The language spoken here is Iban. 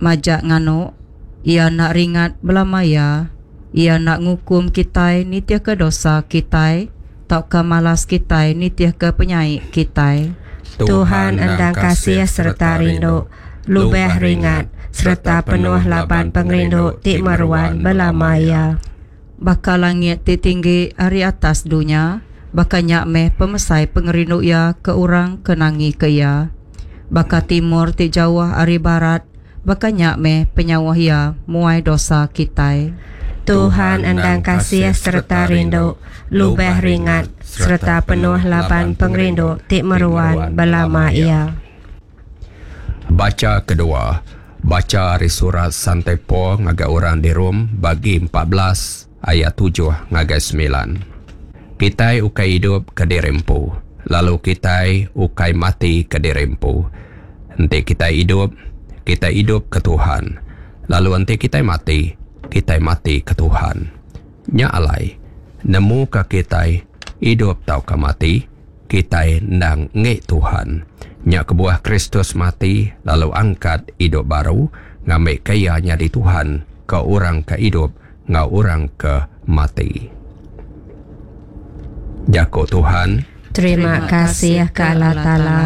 majak nganu. Iya enda ringat belama iya. Iya enda ngukum kitai nitihka dosa kitai, tauka malas kitai nitihka penyai kitai. Tuhan endang kasih sereta rindu, lubah ringat, sereta penuh laban pengerindu ti meruan belama iya. Baka langit ti tinggi ari atas dunya, baka nya meh pemesai pengerindu Iya ke orang ke nangika Iya. Baka timur ti jauh ari barat, baka nya meh penyauh Iya muai dosa kitai. Tuhan endang kasih sereta rindu, lubah ringat, sereta penuh laban pengerindu ti meruan belama iya. Bacha kedua, Bacha ari surat Sante Paul ngagai orang di Rome bagi 14 ayat 7 ngagai 9. Kitai ukai idup ke diri empu, lalu kitai ukai mati ke diri empu. Enti kitai idup, kitai idup ke Tuhan, lalu enti kitai mati, kitai mati ke Tuhan. Nya alai, nemuka kitai idup tauka mati, kitai endang enggi Tuhan. Nya kebuah Kristus mati lalu angkat idup baru, ngambika Iya nyadi Tuhan ke orang ke idup enggau orang ke mati. Jaku Tuhan. Terima kasih ke Allah Taala.